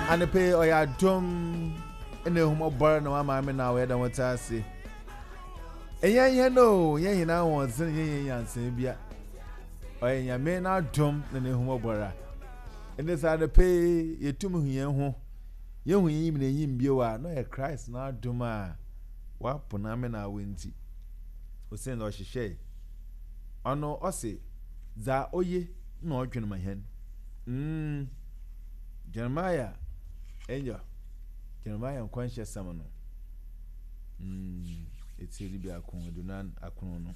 Anɔpa yi ɔyɛ adom na ehummɔbɔr na wama me na ɔyɛ dɛm ɔtse ase. Ɛnyɛ hɛn o, nnyɛ hɛn ahoɔdzen, nnyɛ hɛn nyansaa bia. Ɔyɛ Nyame n'adom na n'ehummɔbɔr a. Ndɛ sɛ anɔpa yi yetum hu hɛn ho, yehu hɛn enyim na enyim bio a, na ɔyɛ Christ n'adom a ɔapon ame na awo ntsi. Osiandɛ ɔhyehyɛe. Ɔno ɔse dza oye na ɔdwen ma hɛn. Mm. Jeremiah, angel, Jeremiah nkɔnhyɛsɛm no, mm, etsir dubiako, edunan akron no.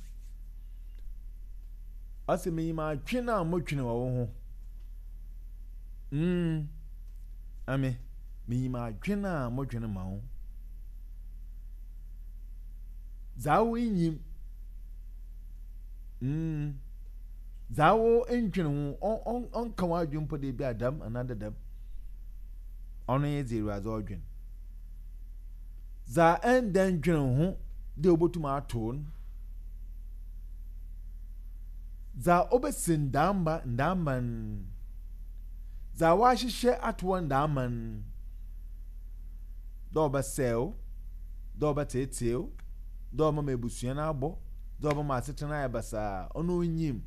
Ɔse, Minyim adwen a modwen wɔ wo ho. Mm, ame, minyim adwen a modwen ma wo. Dza wo nnyim. Mm. Dza wo nndwen ho, ɔnnka w'adwen mpo dɛ bi a dɛm anaa dɛ dɛm. Ɔno nye dza Ewuradze ɔdwen. Dza nndɛ nndwen ho dɛ obotum ato wo no, dza obesi ndaamba ndaamba no, dza wɔahyehyɛ ato hɔ ndaama no, dɛ ɔbɛsɛɛ wo, dɛ ɔbɛtseetsee wo, dɛ ɔbɛma ebusua no abɔ, dɛ ɔbɛma asetsena ayɛ basaa, ɔno onnyim.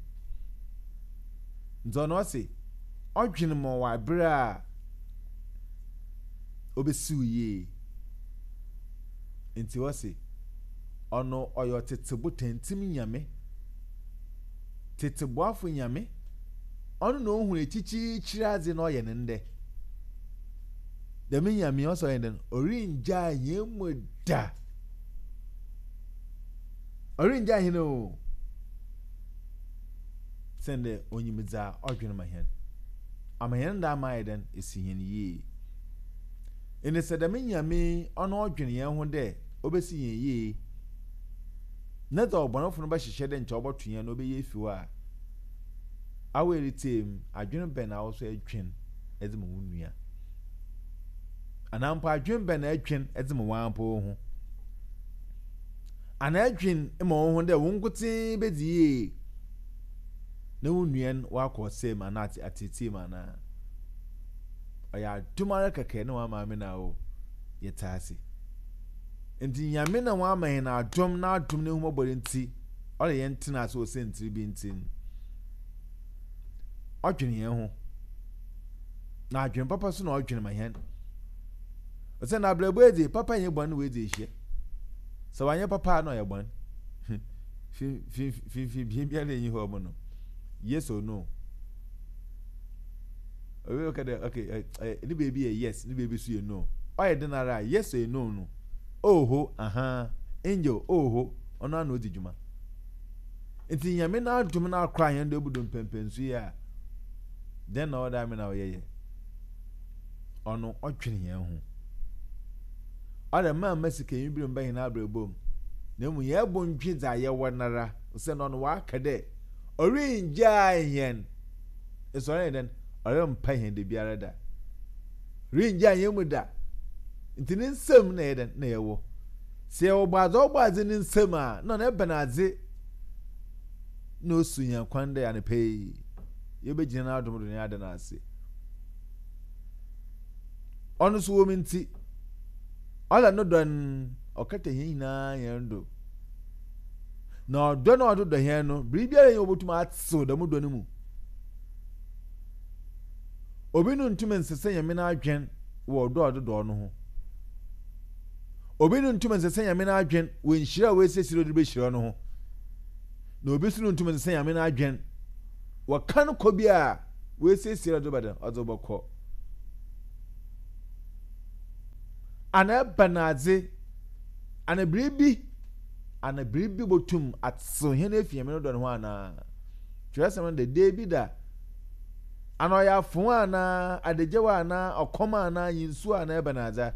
Ntsi ɔno ɔse ɔdwen ma ɔwɔ aber a obesiw yie. Ntsi ɔse ɔno ɔyɛ ɔtsetse botantim Nyame, tsetseboafo Nyame, ɔno na ohun ekyikyiikyir adze na ɔyɛ no ndɛ. Dɛm Nyame yi ɔse ɔyɛ dɛn? Orinngyaa hɛn mu da. Ɔrenngyaa hɛn o, osiandɛ onyim dza ɔdwen ma hɛn. Ama hɛn ndaama ayɛ dɛn? Esi hɛn yie. Ndɛ sɛ dɛm Nyame yi ɔno ɔdwen hɛn ho dɛ obesi hɛn yie, na dza ɔbɔnefo no bɛhyehyɛ dɛ nkyɛ ɔbɔto hɛn no obeyi efi hɔ a, awo eretsie mu, adwen bɛn na awo so edwen dze ma wo nua? Anaa mpo adwen bɛn na edwen dze ma woara mpo woho? Ana edwen ma woho dɛ wo nkotsee bedzi yie na wo nua no ɔakɔ ɔsɛɛ mu anaa atseetsee mu anaa? Ɔyɛ adom ara kɛkɛ na ɔama me na wo yɛtse ase. Ntsi Nyame na ɔama hɛn adom, n'adom n'ehumbɔbɔr ntsi ɔreyɛ hɛn tsena ase wɔ siantsir bi ntsi no, ɔdwen hɛn ho. Na adwen papa so na ɔdwen ma hɛn. Osiandɛ abrabɔ yi dze, papa nye bɔn na woedzi ehyia. Sɛ ɔannyɛ papa a na ɔyɛ bɔn. Finimfin biara nnyi hɔ mu no, yes or no. Obi bɛka dɛ okay, ne beebi yɛ yes, ne beebi so yɛ no. Ɔyɛ dɛn ara a, yes or no no, oho, ahaa, angel, oho, ɔno ara na odzi dwuma. Ntsi Nyame n'adom no akora hɛn do ebu do mpɛnpɛnso yi a, dɛn na ɔwɔ dɛ ame na ɔyɛyɛ? Ɔno ɔdwen hɛn ho. Ɔdɛ mma mma sikanyi ber mmba hɛn abrabɔ mu, na mbom hɛn bo ndwe dza yɛwɔ noara, osiandɛ ɔno ɔaka dɛ orinngyaa hɛn, eso ɔrennyɛ dɛn? Ɔremmpa hɛn dabiara da. Orinngyaa hɛn mu da. Ntsi ne nsamu na yɛyɛ dɛn? Na yɛwɔ. Sɛ yɛwɔ Ɔbɔadze a ɔbɔɔ adze ne nsamu a, nna ɔno ebɛn adze na osu hɛn kwan dɛ anapa yi yebegyina n'adom do na yɛada no ase? Ɔno so wɔ mu ntsi, ɔla no dɔ no ɔkata hɛn nyina hɛn do. Na ɔdɔ no a ɔdze dɔ hɛn no, biribiara nnyi hɔ a obotum atsew dɛm dɔ no mu. Obi no nntum nnsesa Nyame n'adwen wɔ ɔdɔ a ɔdze dɔ no ho. Obi no nntum nnsesa Nyame n'adwen wɔ nhyira a oesiesie dɛ ɔdze behyira no ho. Na obi so no nntum nnsesa Nyame n'adwen wɔ kan kɔ bi a oesiesie dɛ ɔdze bɛdɛn, ɔdze bɔkɔ. Ana ebɛnadze, ana biribi, ana biribi botum atsew hɛn efi Nyame no dɔ no ho anaa? Kyerɛwsɛm no dɛ, Daabida, ana ɔyɛ afõ anaa, adagyaw anaa, ɔkɔm anaa, nyinsuo anaa ebɛnadze a?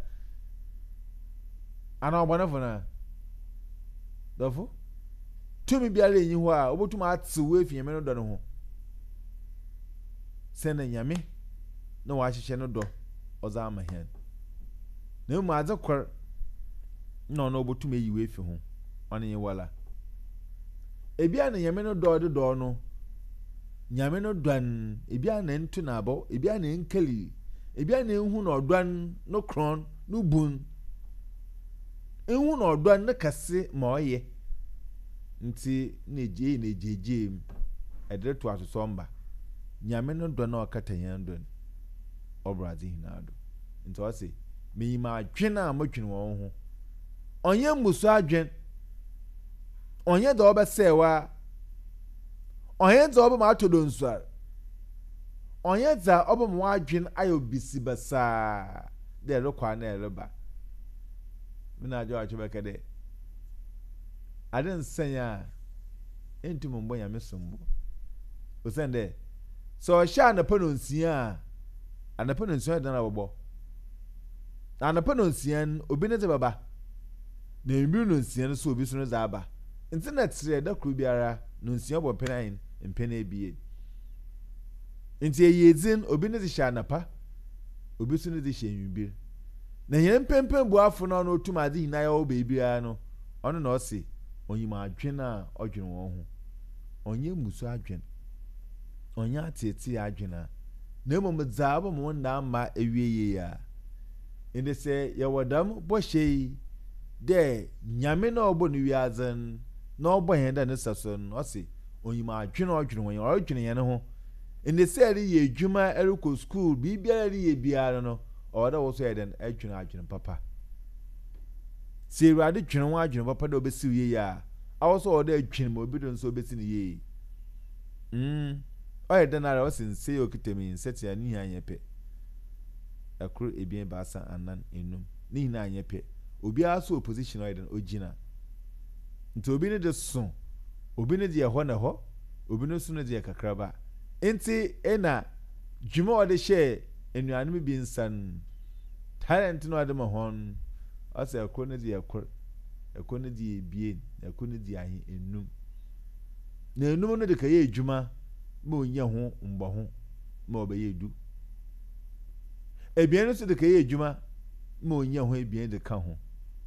Ana ɔbɔnefo no a? Dɔfo, tumi biara nnyi hɔ a obotum atsew wo efi Nyame no dɔ no ho. Sɛ na Nyame na ɔahyehyɛ no dɔ ɔdze ama hɛn. Na mbom adze kor na ɔno obotum eyi wo efi ho, ɔno nye woara. Ebia na Nyame no dɔ a ɔdze dɔ wo no, Nyame no dɔ n', ebia na nnto no abaw, ebia na ennkeli, Ebia na ehu na ɔdɔ no no krɔn, no bun. Ehu na ɔdɔ no kɛse ma ɔyɛ. Ntsi na eyi na egyeegyee mu, ɛde roto asosɔmba. Nyame no dɔ no a ɔkata hɛn do no, ɔbor adze nyina do. Ntsi ɔse, Minyim adwen a modwen wɔ wo ho. Ɔnnyɛ mbusu adwen, ɔnnyɛ dza ɔbɛsɛɛ wo ara, ɔnnyɛ dza ɔbɛma atɔ donsuar, ɔnnyɛ dza ɔbɛma w'adwen ayɛ bisibasaa dɛ erokɔ anaa ereba. Me na adwoatwe bɛka dɛ, Adze nnsɛe a, enntum mmbɔ Nyame sombo. Osiandɛ, sɛ ɔhyɛ anapa nonsia a, anapa nonsia ɔyɛ dɛn na ɔbɔbɔ? Na anapa nonsia no, obi ne dze bɛba, na ewimbir nonsia no so obi so ne dze aba. Ntsi na tserɛ da kor biara nonsia bɔ mpɛn ahen? Mpɛn ebien. Ntsi eyiedzi no, obi ne dze hyɛ anapa, obi so ne dze hyɛ ewimbir. Na hɛn mpɛnpɛnbuafo no a ɔno otum adze nyina yɛ wɔ beebiara no, ɔno na ɔse onyim adwen a ɔdwen hɔn ho. Ɔnnyɛ mmusu adwen, ɔnnyɛ atseetsee adwen a, na mbom dza ɔbɛma wo nda ama ewie yie a. Ndɛ sɛ yɛwɔ dɛm bɔhyɛ yi dɛ Nyame no a ɔbɔɔ no wiadze no na ɔbɔɔ hɛn dɛ ne sɛso no, ɔse onyim adwen a ɔdwen hɔn, ɔrodwen hɛn ho. Ndɛ sɛ ereyɛ edwuma, erokɔ skuul, biribiara a ereyɛ biara no, ɔwɔ dɛ wo so eyɛ dɛn? Edwen adwen papa. Sɛ Ewuradze dwen wo adwen papa dɛ obesi wo yie a, awo so ɔwɔ dɛ edwen ma obi do so obesi no yie. Mm, ɔyɛ dɛn ara a, ɔse nsa yi a okitsa mu yi, nsatsia ne nyina nnyɛ pɛ. Kor, ebien, ebiasa, anan, enum, ne nyina nnyɛ pɛ. Obiara so wɔ position a ɔyɛ dɛn, ogyina. Ntsi obi ne de so, obi ne de yɛ hɔ na hɔ, obi no so ne de yɛ kakraba. Ntsi nna dwuma a ɔdze hyɛɛ enuanom bi nsa no, talent no a ɔdze ma hɔn no, ɔsɛ kor ne dze yɛ kor, kor ne dze yɛ ebien, na kor ne dze yɛ ahe, enum. Na enum no de kɛyɛ edwuma ma onya ho mbɔho ma ɔbɛyɛ du. Ebien no so de kɛyɛ edwuma ma onya ho ebien de ka ho.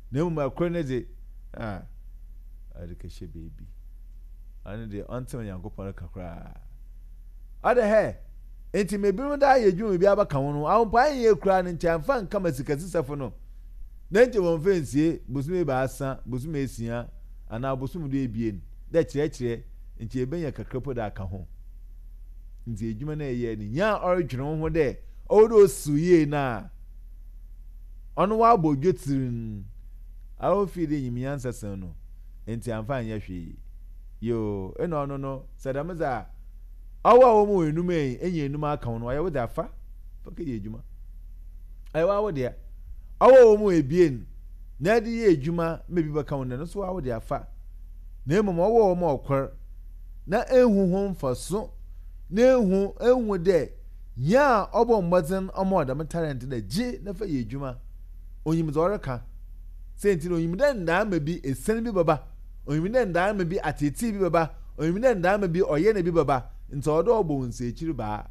Na mmom kor ne dze, ah, ɔde kɛhyɛ beebi. Ɔno deɛ ɔnte Onyankopɔn reka koraa. Ɔde hɛ, enti ma ebinom daa yɛ adwuma bi abɛka ho no, ahompo anyɛ koraa no nkyɛ amfa nka ma sikasesɛfo no. Na nkyɛ wɔmfa nsie bosome ebaasa, bosome esia, anaa bosom du ebien, dɛ kyerɛkyerɛ, nkyɛ ebenya kakra po dɛ aka ho. Ntsi edwuma no a eyɛe no, nyia ɔrodwen wo ho dɛ ɔwɔ dɛ osiw yie no a, ɔno ɔabɔ dwetsir no, a ofii dɛ inyim nyansa sen no, ntsi ammfa annyɛ hwee. Yoo, nna ɔno no, sɛ dɛm dze a, ɔwo a wɔma wo enum yi, enya enum aka ho no, ɔyɛ wo dze a, fa, fa kɛyɛ edwuma. Ɔyɛ woara wo dea. Ɔwo a wɔma wo ebien na edze yɛ edwuma ma bi bɛka ho no, no so woara wo dea, fa. Na mbom ɔwo a wɔma wo kor na ennhu ho mfaso, na ennhu, ennhu dɛ nyia a ɔbɔ mbɔdzen ɔma wo dɛm talent no dɛ gye na fa yɛ edwuma, onyim dza ɔreka. Siantsir no, onyim dɛ ndaama bi, esian bi bɛba. Onyim dɛ ndaama bi, atseetsee bi bɛba. Onyim dɛ ndaama bi, ɔyɛne bi bɛba. Ntsi ɔwɔ dɛ ɔbɔ wo nsaekyir baa.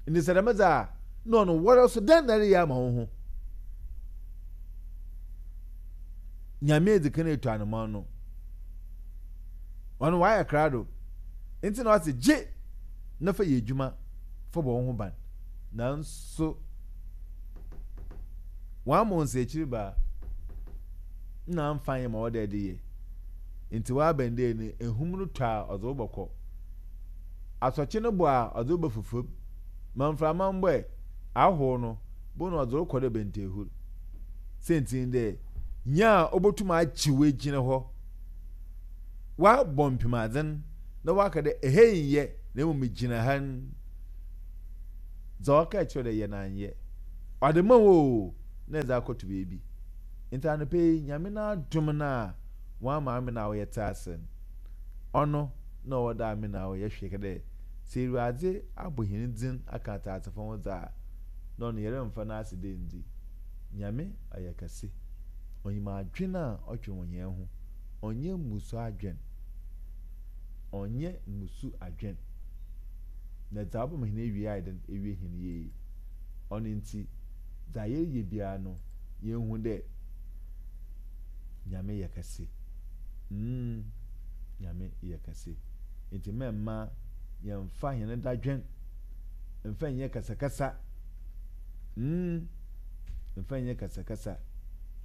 Ntsi sɛ dɛm dze a, nna ɔno woara so dɛn na ereyɛ ama woho? Nyame edzi kan etu anamɔn no, ɔno ɔayɛ krado. Ntsi na ɔse gye na fa yɛ edwuma fa bɔ woho ban. Naaso wɔama wo nsaekyir baa. Nna ammfa annyɛ ma ɔwɔ dɛ edze yɛ. Ntsi ɔaben dɛ no ehum no tɔ a ɔdze wo bɔkɔ. Asɔkye no bɔ a ɔdze wo bɛfa famu. Ma mframa mbɔ ɛ, ahow no, bo na ɔdze wo kɔ dɛ bɛntɛhur. Siantsir nye dɛ, nyia a obotum agye wo egyina hɔ, ɔabɔ mpemadzen na ɔaka dɛ ha yi nnyɛ na mbom gyina ha n', dza ɔkaa kyerɛ wo dɛ yɛ no annyɛ. Ɔdze ma wo o, na edze akɔto beebi. Ntsi anɔpa yi, Nyame n'adom no a Ɔama ame na wo yɛtse ase no, ɔno na ɔwɔ dɛ ame na wo yɛhwɛ kɛ dɛ sɛ Ewuradze abɔ hɛn dzin akã atseasefo ho dze a, nna ɔno yɛremmfa n'ase dɛ nndzi. Nyame ɔyɛ kɛse. Onyim adwen a ɔdwen wɔ hɛn ho. Ɔnnyɛ mmusu adwen. Ɔnnyɛ mmusu adwen. Na dza ɔbɛma hɛn ewiei ayɛ dɛn? Ewie hɛn yie. Ɔno ntsi, dza yɛreyɛ biara no, yenhu dɛ Nyame yɛ kɛse. Mm, Nyame yɛ kɛse. Ntsi mɛmma yɛmmfa hɛn dadwen mmfa nnyɛ kasakasa. Mm, mfa nyɛ kasakasa.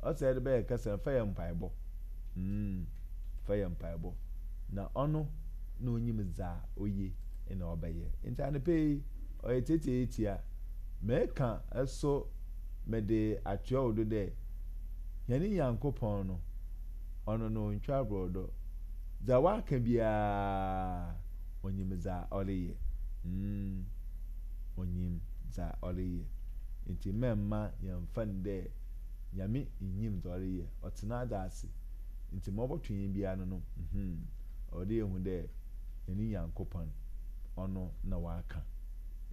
Ɔsɛ yɛde bɛyɛ kasa, mfa yɛ mpaebɔ. Mm, fa yɛ mpaebɔ. Na ɔno na onyim dza oye na ɔbɛyɛ. Ntsi anapa yi, ɔyɛ tsiatsiatsia. Mekã so mede atoa wo do dɛ, hɛn Nyankopɔn no, ɔno no onntwa aborɔdɔ. Dza ɔakã biara, onyim dza ɔreyɛ. Mm, onyim dza ɔreyɛ. Ntsi mma yɛmmfa no dɛ Nyame nnyim dza ɔreyɛ. Ɔtse n'adze ase. Ntsi ma ɔbɔto hɛn biara no no, mm, ɔwɔ dɛ yehu dɛ hɛn Nyankopɔn, ɔno na ɔakã.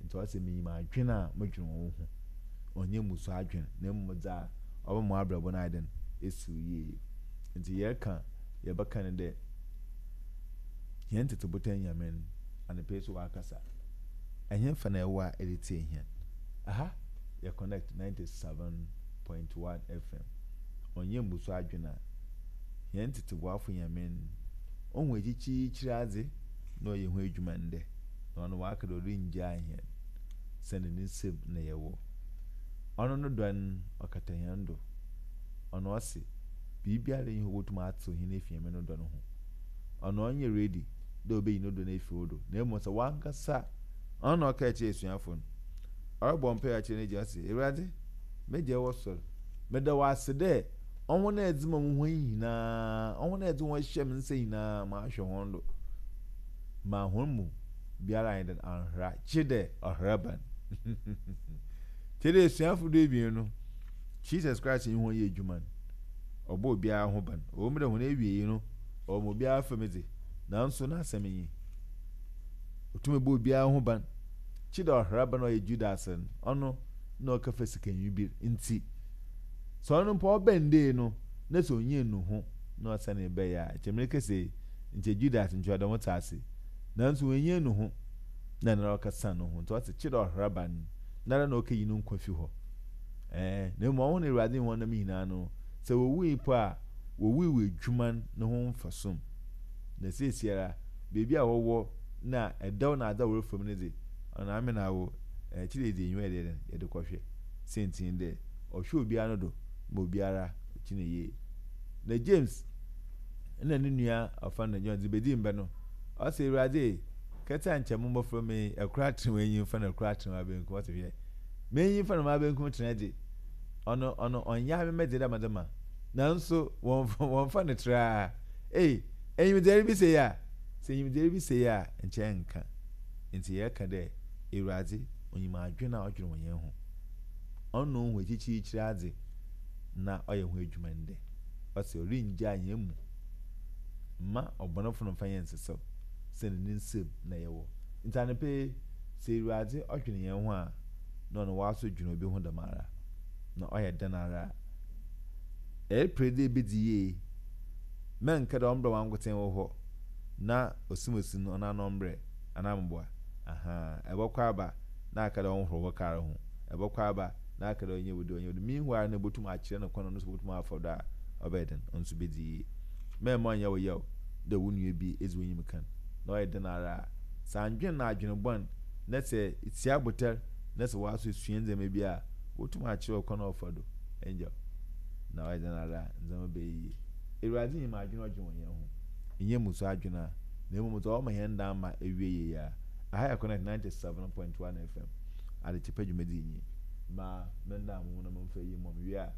Ntsi ɔse, Minyim adwen a modwen wɔ wo ho, ɔnnyɛ mmusu adwen, na mbom dza ɔbɛma w'abrabɔ no ayɛ dɛn, esiw yie. Ntsi yɛrekã, yɛbɛkã no dɛ, hɛn tsetse botan Nyame no, anapa yi so ɔakasa. Ɛhenfa na ewɔ a eretsie hɛn? Aha yɛ Connect 97.1 FM. Ɔnnyɛ mbusu adwen a, hɛn tsetse boafo Nyame no, ohu ekyikyiikyir adze na ɔyɛ ho edwuma ndɛ. Na ɔno ɔaka dɛ orinngyaa hɛn, sianndɛ ne nsamu na yɛwɔ. Ɔno no dɔ no, ɔkata hɛn do. Ɔno ɔse, biribiara nnyi hɔ a obotum atsew hɛn efi Nyame no dɔ no ho. Ɔno ɔnnyɛ ready dɛ obeyi no dɔ no efi wo do, na mbom sɛ wankasa, ɔno na ɔkaa kyerɛɛ esuafo no, ɔrobɔ mpaa akyerɛ n'Egya, ɔse, Ewuradze, m'Egya ewɔ sor, meda wo ase dɛ hɔn a edze ma mo hɔn nyina, hɔn a edze hɔn hyɛ me nsa nyina, mahwɛ hɔn do. Ma hɔn mu biara annyɛ dɛn annhera, gyedɛ ɔheraban. Tse dɛ esuafo duebien no, Jesus Christ nye hɔn yɛɛ edwuma no, ɔbɔɔ obiara ho ban. Ɔwɔ mu dɛ hɔn ewiei no, ɔwɔ ma obiara famu dze, naaso n'asɛm nye, otum bɔ obiara ho ban, gyedɛ ɔheraban a ɔyɛ Judas no, ɔno nna ɔkɛfa sikanyi bi ntsi. Sɛ ɔno mpo ɔbɛn dei no, na sɛ onnya nnuho na ɔsanee bae a, nkyɛ merekasa yi, nkyɛ Judas nkyɛ ɔda ho tse ase. Naaso oennya nnuho na noara ɔkɛsan noho, ntsi ɔse, Kyerɛ ɔheraban no, noara na okeyi no nkwa fi hɔ. Ɛɛ, na mbom hɔn a Ewuradze nye hɔn nam nyina no, sɛ wowui mpo a, wowui wɔ edwuma no ho mfaso mu. Na seseiara, beebi a wɔwɔ na dɛw na adze a wɔrefa mu no dze, ɔno ame na awo, kyerɛ yɛdze enyiwa yɛde yɛ dɛn, yɛde kɔhwɛ. Siantsir nye dɛ, ɔhwɛ obiara no do ma obiara gyina yie. Na James na no nua a wɔfrɛ no John dze bedii mbɛ no, ɔse, Ewuradze e, kɛtse a nkyɛ mo mboframba yi, kor atsen w'enyimfa na kor atsen w'abankum. Ɔse, Hwɛ, m'enyimfa na m'abankum tsena dze, ɔno, ɔno ɔnnyɛ ame me dze dɛ medze ma, naaso wɔmmfa, wɔmmfa no traa. Ei, enyimdze eribisa yi a, sɛ enyimdze eribisa yi a, nkyɛ nnkã. Ntsi yɛreka dɛ, Ewuradze, onyim adwen a ɔdwen wɔ hɛn ho. Ɔno na ohu ekyikyirekyir adze na ɔyɛ ho edwuma ndɛ. Ɔse orinngyaa hɛn mu mma ɔbɔnefo no mmfa hɛn nnsesaw, sianndɛ ne nsamu na yɛwɔ. Ntsi anapa yi, sɛ Ewuradze ɔdwen hɛn ho a, na ɔno ɔaso dwen obi ho dɛmara. Na ɔyɛ dɛn ara a, ereper dɛ ebedzi yie, mɛnnkɛ dɛ ɔmbrɛ wankotsee wo hɔ na osimosi no ɔnoara no ɔmbrɛ anaa mboa. Ahaa, ebɔkɔ aba na aka dɛ ɔnhor wo kaar ho, ebɔkɔ aba na aka dɛ ɔnyɛ wo dei, ɔnyɛ wo dei. Meanwhile no ibotum akyerɛ no kwan a ɔno so botum afa do a ɔbɛyɛ dɛn, ɔno so bedzi yie. Mma ɔnnyɛ wo yaw dɛ wo nua bi edzi w'enyim kan, na ɔyɛ dɛn ara a, sɛ anndwen no adwen bɔn na sɛ itsia abotar na sɛ wɔaso esua ndzɛmba bi a, wobotum akyerɛ wo kwan a ɔfa do, Angel, na ɔyɛ dɛn ara a, ndzɛmba bɛyɛ yie. Ewuradze nyim adwen a ɔdwen wɔ hɛn ho, nnyɛ mmusu adwen a, na mbom dza ɔma hɛn ndaamba ewie yie a. Aha yɛ Connect 97.1 FM, Adekyepa dwumadzi nye. Ma mendan mo ho na memfa iyi mmɔ me wie a,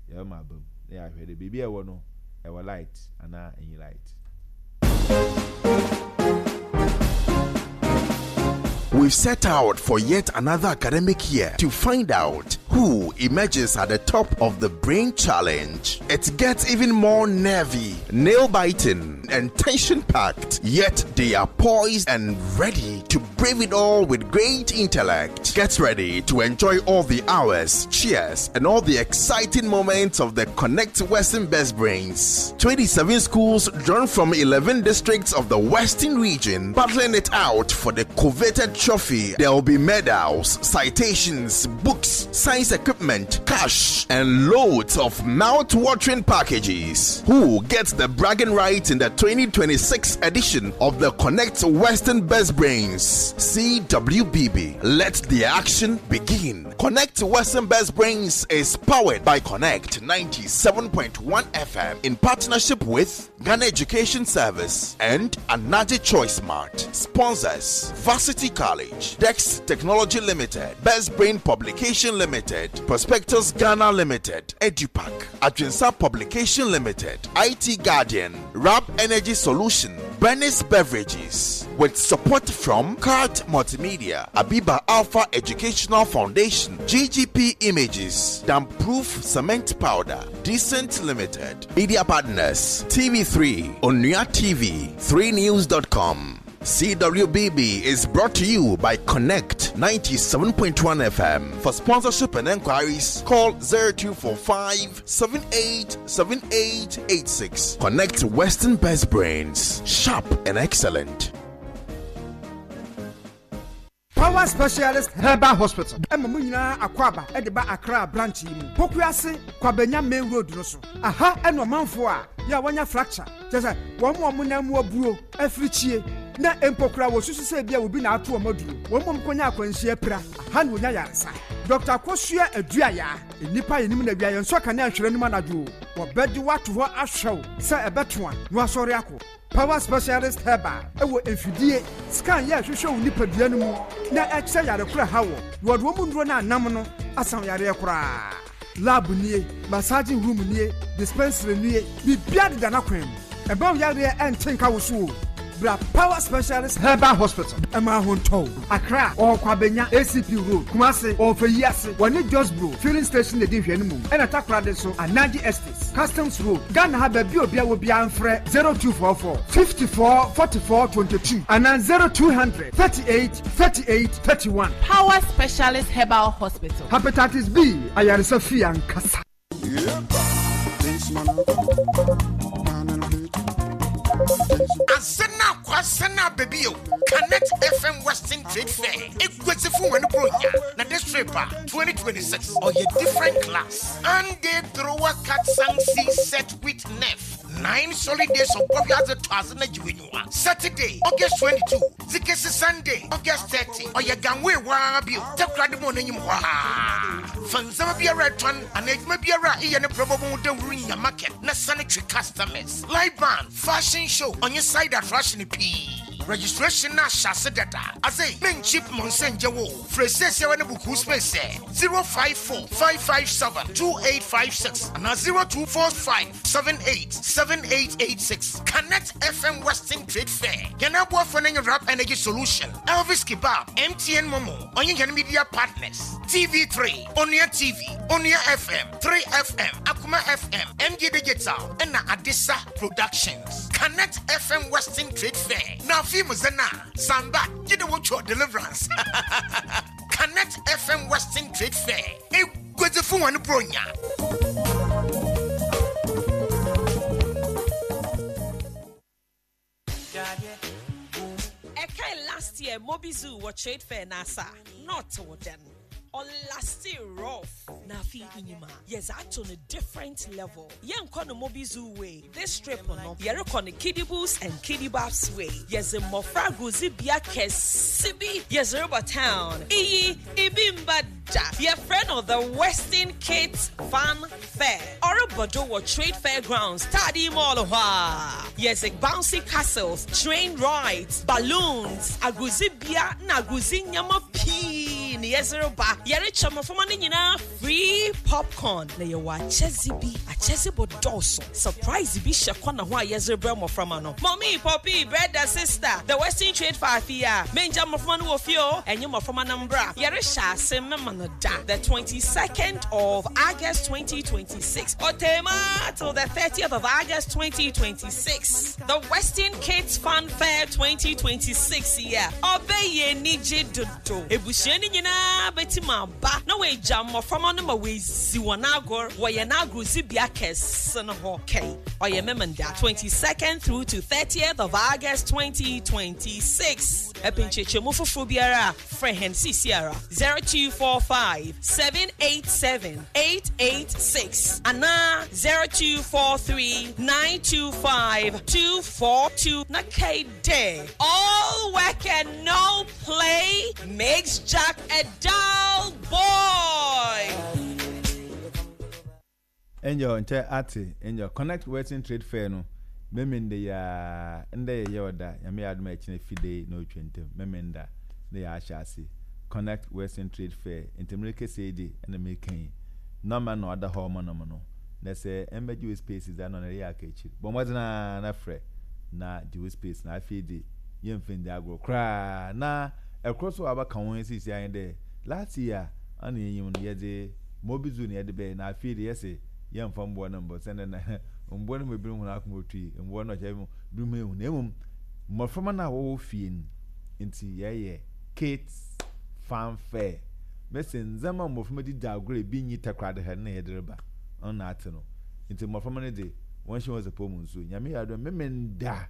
yɛbɛma aba mu na yɛahwɛ dɛ beebi a ɛwɔ no, ɛwɔ light anaa ennyi light. We've set out for yet another academic year to find out who emerges at the top of the Brain Challenge. It gets even more nervy, nail biting, and tension packed, yet they are poised and ready to brave it all with great intellect. Get ready to enjoy all the hours, cheers, and all the exciting moments of the Connect Western Best Brains. 27 schools drawn from 11 districts of the Western region battling it out for the coveted trophy. There will be medals, citations, books, science equipment, cash, and loads of mouth-watering packages. Who gets the bragging rights in the 2026 edition of the Connect Western Best Brains? Brains, CWBB. Let the action begin. Connect Western Best Brains is powered by Connect 97.1 FM in partnership with Ghana Education Service and Anaji Choice Mart. Sponsors Varsity College, Dex Technology Limited, Best Brain Publication Limited, Prospectus Ghana Limited, EduPack, Adrinsa Publication Limited, IT Guardian, Rab Energy Solution, Bernice Beverages, with support from Card Multimedia, Abiba Alpha Educational Foundation, GGP Images, Damproof Cement Powder, Decent Limited, Media Partners, TV3, Onua TV, 3news.com. CWBB is brought to you by Connect 97.1 FM. For sponsorship and enquiries, call 0245 787886. Connect Western Best Brains, sharp and excellent. Power Specialist Herbal Hospital ma mo nyinaa akwaaba de ba Accra branch yi mu, Pokuase Kwabenya Main Road no so. Aha na ɔmanfoɔ a yɛ a wɔanya fracture, kyerɛ sɛ wɔn a wɔn nan mu abuo, afirikyie, na mpo koraa wɔsusu sɛ ebia obi na ato wɔn aduro, wɔn mmom kɔnya akwanhyia apira, aha na wɔnya yaresa. Dɔkta Akosua Aduayaa, nnipa a yɛnim no awia yɛnsɔ kanea nhwere anim anadwo o, wɔbɛgye wo ato hɔ ahwɛ wo sɛ ɛbɛto a na wasɔre akɔ. Power Specialist Herbal wɔ mfidie, scan yɛ ɛhwehwɛ wo nipadua no mu na ɛkyerɛ yare koro a ɛha wɔ, na wɔde wɔn nnuro no anam no asa wo yareɛ koraa. Lab nie, massaging room nie, dispensary nie, biribiara deda n'akwan mu. Ɛmma wo yareɛ ɛnte nka wo so o. Bra Power Specialist Herbal Hospital ɛma ho ntɔ wo. Accra, ɔwɔ Kwabenya, ACP Road, Kumasi, ɔwɔ Feyiase, wɔne Josbro Filling Station na ɛdi nhwɛanimu, ɛna Takoradi nso, Anaji Estates, Customs Road, Ghana ha baabi a obiara wɔ biara mfrɛ 0244 54 44 22 anaa 0200 38 38 31. Power Specialist Herbal Hospital. Hepatitis B ayaresa fie ankasa. Asena kwasena baby o. Connect FM Western Trade Fair. Eguadzifo hɔn Buronya na this trip a 2026 ɔyɛ different class. Ande thrower cat sang si set with nef. Nine solid days of bɔ wiadze tɔ adze na gye w'enyiwa. Saturday, August 22, dze kesi Sunday, August 30, ɔyɛ Ganway hɔ ara bio, Takoradi Mall n'enyim hɔ ara. Fa ndzɛmba biara a etɔn anaa edwuma biara a eyɛ no brɛ bɔbɔ ho dawur nya market na san twe customers. Live band, fashion show, ɔnye side attraction pii. Registration no ahyɛ ase dada. Adze, mennkyip mo nsa nngye wo o. Frɛ siesiara na book wo space ɛ, 054 557 2856 anaa 0245 78 7886. Connect FM Western Trade Fair. Hɛn aboafo no nye Rap Energy Solution, Elvis Kebab, MTN MoMo, ɔnye hɛn media partners, TV3, Onua TV, Onua FM, 3FM, Akoma FM, MG Digital, na Adesa Productions. Connect FM Western Trade Fair. Na afei mu dze no a, samba, gye dɛ wotwa deliverance. Connect FM Western Trade Fair. Eguadzifo hɔn Buronya. Ɛkae last year Mobi Zoo wɔ Trade Fair n'asa a, na ɔtse wo dɛn? Ɔlaste rough. Na afei inyim a, yɛdze ato no different level. Yɛnnkɔ no Mobi Zoo way, this trip no, yɛrokɔ no Kidibus and Kidibabs way. Yɛdze mbofra agordzibea kɛse bi yɛdze reba town. Iyi, ibi mmba da. Yɛfrɛ no The Western Kids Fun Fair. Ɔrobɔ do wɔ Trade Fair Grounds, Taadi Mall hɔ ara. Yɛdze bouncy castles, train rides, balloons, agordzibea na agordzi ndzɛmba pii na yɛdze reba. Yɛrekyɛ mboframba no nyina free popcorn na yɛwɔ akyɛdze bi. Akyɛdze bɔdɔɔ so. Surprise bi hyɛ kɔna ho a yɛdze rebrɛ mboframba no. Mummy, Poppy, brɛda, sister, The Western Trade Fair afe yi a, menngya mboframba no wɔ fie o, enye mboframba no mbra. Yɛrehyɛ ase mema no da, the 22nd of August 2026, Otema till the 30th of August 2026. The Western Kids Fun Fair 2026 yi a, ɔbɛyɛ enyigye dodo. Ebusua no nyina betsim aba na woegya mboframba no ma woedzi hɔn agor wɔ hɛn agordzibea kɛse no hɔ. Kɛy, ɔyɛ Memenda, 22nd through to 30th of August 2026. Epɛ nkyerɛkyerɛmu fofor biara a, frɛ hɛn seseiara, 0245 787 886 anaa 0243 925 242 na kae dɛ, All work and no play makes Jack a dull boy! Angel nkyɛ atse Angel connect western trade fair no Memende yi aa ndɛ yɛ yɛɔda Nyame yɛ adom a ɛkyena fidei na otwa ntam Memenda na yɛahyɛ ase connect western trade fair ntsi merekasa yi de na mereka yi nɔma na ɔda hɔ ɔma nom no na sɛ ɛmbɛgye wo space dze a na ɔno ereyɛ aka ekyir bɔ mbɔdzen ara na frɛ na gye wo space na afei dze yɛmmfa nndzi agor koraa na kor so a ɔabɛka ho sesei ara nye dɛ last year ana yenyim no yɛdze Mobi zoo na yɛde bɛyɛ na afei de yɛse yɛmfa mboa no mbɔ sɛndɛ na mboa no mu ebinom hɔn akoma otui, mboa no ɔkyɛ binom ehu na mbom mboframba no a wɔwɔ fie no ntsi yɛyɛ kids fun fair. Mese ndzɛmba a mboframba dze dzi agor a ebi nnyi takoradi ha no na yɛdze reba, ɔno na atse no. Ntsi mboframba no dze wɔnhyɛ hɔn sapɔw mu nsu. Nyame yɛ adom a Memenda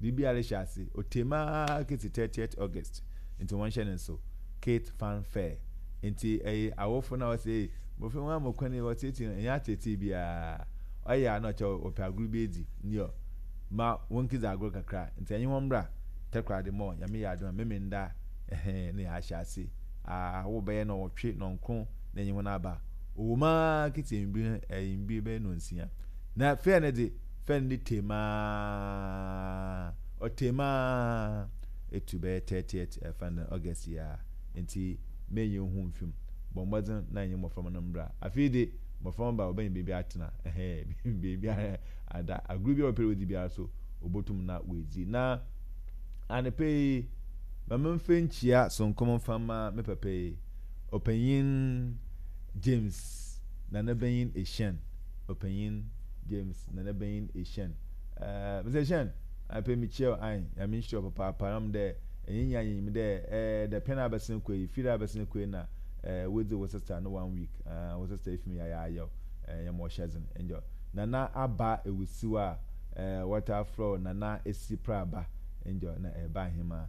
biribiara rehyɛ ase, otee mu ara kesi 30th August ntsi wɔnhyɛ no nsew, kids fun fair. Ntsi ɛye awofo no a wɔse ei mbofra yi wɔama kwan yi wɔtseetsee no, nnyɛ atseetsee biara. Ɔyɛ a na ɔkyerɛ wɔpɛ agor bi edzi nyew ma wonkedzi agor kakra. Ntsi enye hɔn mbra Takoradi mall, Nyame yɛ adom a Memenda ɛhɛn na yɛahyɛ ase. Awo bɛyɛ nɔnwɔtwe, nɔnkron na enye hɔn aba. Ɔwɔ mu ara ketsi ewimbir no, ewimbir bɛyɛ nɔnsia. Na fair no dze, fair no ne tee mu ara, ɔtee mu ara etu bɛyɛ 30th ɛfa no August yi ara. Ntsi menye wo ho mmfi mu. Bɔ mbɔdzen na enye mboframba no mbra. Afei dze, mboframba ba a, wɔbɛnya beebi atsena, ɛhɛɛ, beebi ada. Agor biara a wɔpɛ dɛ wodzi biara so, wobotum na woedzi. Na anapa yi, ma memfa nkyia soronko mfa mma me papa yi, Ɔpanyin James Nana Banyin Ehyian. Ɔpanyin James Nana Banyin Ehyian. Ɛɛ, Mister Ehyian, anapa yi mekyia wo, ae, Nyame nhyira wo papaapa. Ɔnam dɛ Enye nyia yenyim dɛ eh dapɛn a abɛsen kɔ yi, fir a abɛsen kɔ yi na eh woedzi wo sister no one week ah wo sister efi mu yayaayaw eh yɛma ɔhyɛ dzen nyew. Nana Aba Ewusiw a eh wɔtaa frɛ wo Nana Esi Praba nyew na ereba ahemaa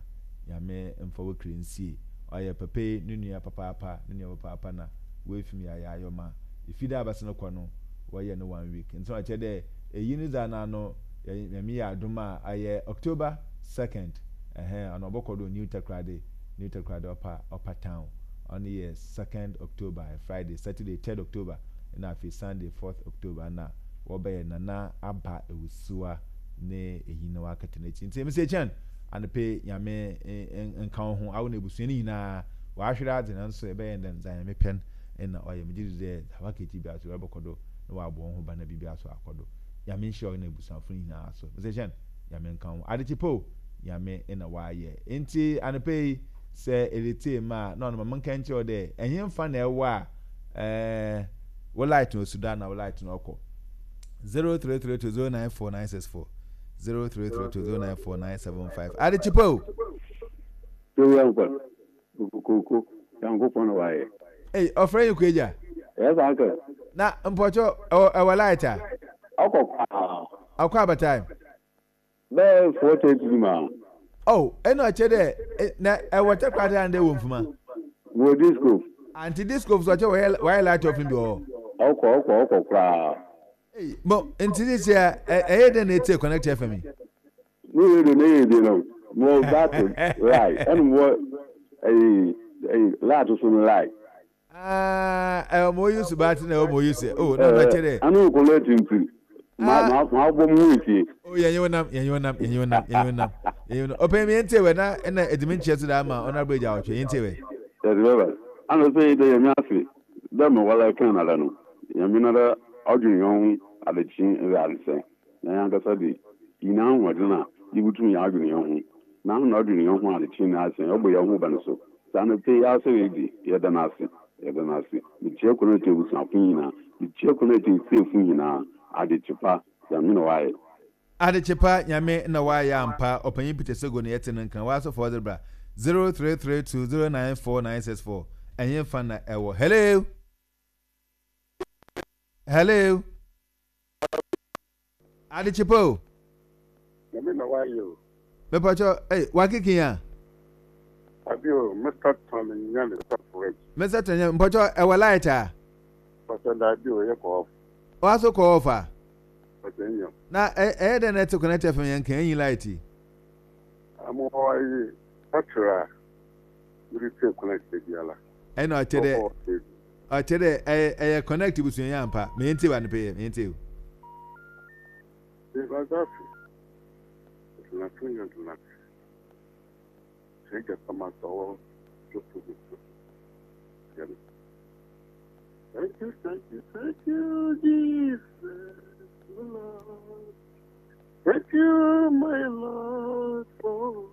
Nyame mfa wo kra nsie. Ɔyɛ papa yi no nua papaapa, no nua papaapa na woefi mu yayaayaw ma efi dɛ abɛsen kɔ no wɔyɛ no one week ntsi ɔkyerɛ dɛ eyi no dze anano Nyame yɛ adom a ɔyɛ October second. Ɛhɛn, ɔno ɔbɔkɔ do New Takoradi, New Takoradi Upper, Upper Town. Ɔno yɛ second October, ɔyɛ Friday, Saturday third October, nna afei Sunday fourth October nna wɔbɛyɛ Nana Aba Ewusiwa ne eyi na wɔakɛtɛ n'ekyir. Ntsi Mr. Echan, anɔpa yi Nyame nka wo ho, awo na ebusua no nyina wɔahwer adze nanso ebɛyɛ dɛn, dza Nyame pɛ no nna ɔyɛ. Megye dzi dɛ dza wɔaka ekyir biara so Ewuradze bɔkɔ do na ɔabɔ woho ban na biribiara so akɔ do. Nyame nhyira wo na ebusuafo no nyina so. Mr. Echan, Nyame nka wo ho. Adekye pa o, Nyame na ɔayɛ. Ntsi anɔpa yi, sɛ eretsie me a, nna ɔno ma menka nkyerɛ wo dɛ, ɛhenfa na ɛwɔ a eh, wo light no osi do ana wo light no ɔkɔ? 0332094964, 0332094975. Adekye pa o! Towia nkwa, kokooko, Nyankopɔn na wayɛ. Ei, ɔfrɛ yi Kwagya. Yes, uncle. Na mpɔkyɛ ɛwɔ light a? Ɔkɔ paa. Ɔkɔ abatae. Bɛyɛ 4:30 bi ma. Oh, ɛna ɔkyɛ dɛ na ɛwɔ Takoradi ana dɛ wɔ Mfuma? Wɔ disco. Anti disco so ɔkyɛ wɔyɛ wɔayɛ light off no bi wɔ hɔ. Ɔkɔ ɔkɔ ɔkɔ koraa. Ei, mo nti sisi a ɛyɛ dɛn na etie Connect FM yi? Ne radio no yɛ bi no mo battery lie ɛna mo ɛyi ɛyi light so no lie. Ah, ɛwɔ mo use battery na ɛwɔ mo use oh na na kyerɛ. Ano nkɔlɔ etintim ma ma ma bɔ mo ho etie. Oh yɛn yɛn nam yɛn yɛn nam yɛn yɛn nam yɛn yɛn nam yɛn yɛn nam ɔpɛn mi yɛn tie wɛ na ɛna edimi nkyɛn so da ama ɔna abere gya ɔtwe yɛn tie wɛ. Yɛsɛ bɛba ana sɛ yɛ dɛ yɛn mi ase dɛ mo wala kan na dɛ no yɛn mi na dɛ ɔdwen yɛn ho adekye ɛdɛ adesɛn. Na hɛn ankasa dze, yennya ahoɔdzen a yebotum yɛadwen hɛnho, na hɔn a ɔdwen hɛnho adzekyee na asen, ɔbɔ hɛnho ban so. Dza anɔpa yi asɔr yi dze, yɛda no ase, yɛda no ase. Mekyia Connect ebusuafo nyina, mekyia Connect etsiefo nyina, adekye pa, Nyame na ɔayɛ. Adekye pa, Nyame na ɔayɛ ampa, Ɔpanyin Peter Sego na yɛtse no nka, w'asɔfo ɔdze bra, 0332094964, ɛhenfa na ɛwɔ? Hello! Hello! Adekye pa o. Nyame na wayɛ o. Mepatwɔ, ei, wakeke a. Abi o, Mr. Tony Nyane Sɔfo Reggie. Mr. Tony Nyane, mpɔkyɛ ɛwɔ light a? Mpɔkyɛ daabi o, yɛ kɔ off. Wa so kɔ off a? Mpɔkyɛ nyɛ. Na ɛyɛ dɛn na ɛte Connect FM yɛn kan enyi light yi? Mo wɔ ayi battery a mede tie Connect da biara. Ɛna ɔkyɛ dɛ ɔkyɛ dɛ ɛyɛ ɛyɛ Connect busua yɛ ampa. Meyɛ ntie wa ne pɛ yɛ meyɛ ntie o. Thank you, thank you, thank you, Jesus, Lord. Thank you, my Lord. Oh.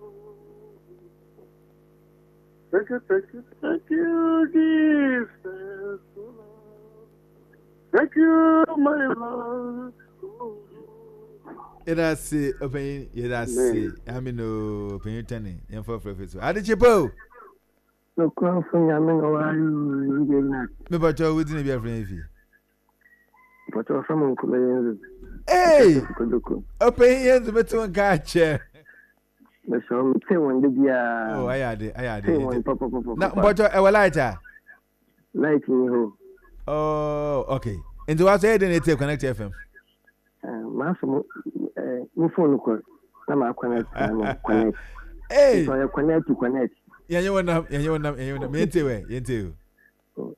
Thank you, thank you, thank you, Jesus. Lord. Thank you, my Lord. Oh. Yɛda ase ɔpanyin yɛda ase amen o ɔpanyin tɛne yɛmfa frɛfrɛ so ade kye po. Nokorafo Nyame na ɔware o ndɛ na. Me pakyɛw wo dzin ebi afrɛ yɛn fi. Mpakyɛw ɔfrɛ mo nkɔmɛ yɛn dze. Hey! Ɔpanyin yɛn dze mete wo nka akyɛ. Mesrɛ wo mete wɔn da biara. Oh ayɛ ade ayɛ ade. Te wɔn pɔpɔpɔpɔ. Na mpakyɛw ɛwɔ light a? Light ni hɔ. Oh okay. Nti wa so ɛyɛ den na etie Connect FM? Maso mo eh, mo phone kɔ na ma connect na mo connect. Hey. Nti ɔyɛ connect to connect. Yɛnyɛ wɔn nam yɛnyɛ wɔn nam yɛnyɛ wɔn nam yɛn tie wɛ yɛn tie o.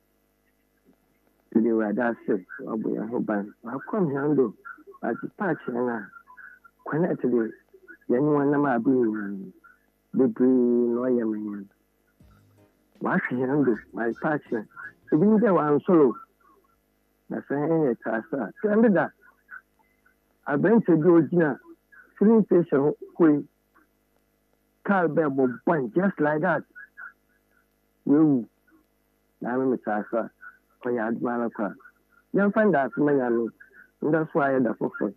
Yɛde Awurade ase wabɔ yɛn ho ban wakɔm hɛn do wadze pa akyerɛ hɛn a connect de yɛnye wɔn nam aber nyinaa bebree na ɔyɛ ma hɛn. Ɔahwɛ hɛn do, ɔayɛ pa akyerɛ hɛn. Binom dɛ wɔannsɔr o, na sɛ hɛn yɛtse ase a, hwɛ ndeda aberantsɛ bi a ogyina filling station hɔ yi, kaar bɛɛ bɔ bɔn just like that, oewu. Na ame metse ase a, ɔyɛ adom ara kwa. Yɛmfa ndaase mma Nyame, ndɛ so ayɛ da fofor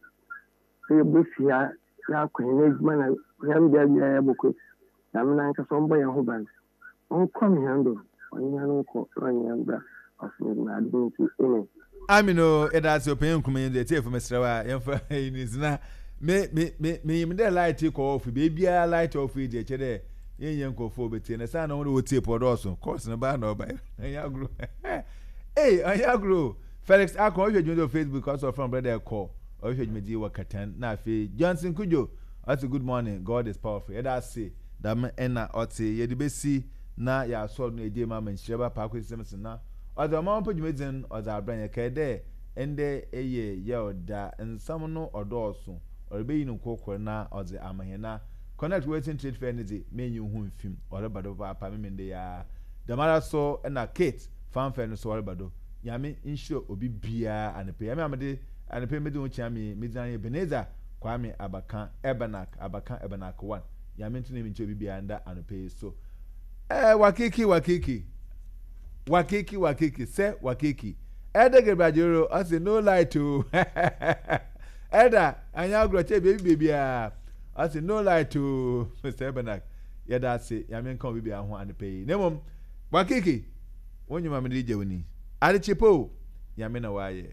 sɛ yebofi ha yɛakɔ hɛn edwuma na hɛn bea biara yɛbɔkɔ, Nyame nankasa ɔmbɔ hɛn ho ban, ɔnkɔm hɛn do, ɔnye hɛn nkɔ na ɔnye hɛn mbra ɔsomdwee na adom ntsi, amen. Amen o, yɛda ase ɔpanyin Nkrumah yi nso atiefo mesrɛ wo a yɛmfa yi ni so na me me me menyim dɛ light kɔ off beebiara light off yi deɛ kyɛ dɛ yɛnyɛ nkurɔfoɔ a wɔbɛtie no saa na wɔn de wɔtie pɔ dɔɔso course no baa na ɔba ɛnyɛ agorɔ ei ɛnyɛ agorɔ Felix Akon ɔhwɛ dwumadie wɔ Facebook ɔsɛ ɔfrɛ brɛ dɛ kɔ ɔhwɛ dwumadie wɔ Katan na afei Johnson Kudjo ɔsɛ good morning God is powerful yɛda ase dɛm ɛna ɔte yɛde bɛsi na yɛasɔre no ɛgye ma ma nhyira ba paako sisɛm so na ɔdze ɔman ɔpɛ dwumadzi no ɔdze abrɛ yɛn kae dɛ ndɛ yɛ yaw da nsɛm no ɔdɔɔso ɔrebeyi no nkorkor na ɔdze ama hɛn na Connect Western Trade Fair no dze m'enyi ho mmfim ɔreba do papaapa Memenda yi ara dɛmara so na Kate Fanfare no so ɔreba do Nyame nhyira obi biara anapa yi. Ame a mede anapa yi medzi ho kyea me yi, me dzin ara nye Ebenezer Kwame Abakan Ebenak, Abakan Ebenak one. Nyame nto n'enyi nkyerɛ obi biara nda anɔpa yi so. Eh, wakiki, wakiki. Wakiki, wakiki, sɛ wakiki. Elder Gabriel Ajero, ɔse no light o. Elder, anyɛ agorɔ kyɛ baabi baabiara. Ɔse no light o. Mr. Ebenak, yɛda ase, Nyame nka obi biara ho anɔpa yi. Na mmom, wakiki. Wo nnwuma mede gya wo ni. Adekye pa o, Nyame na wayɛ.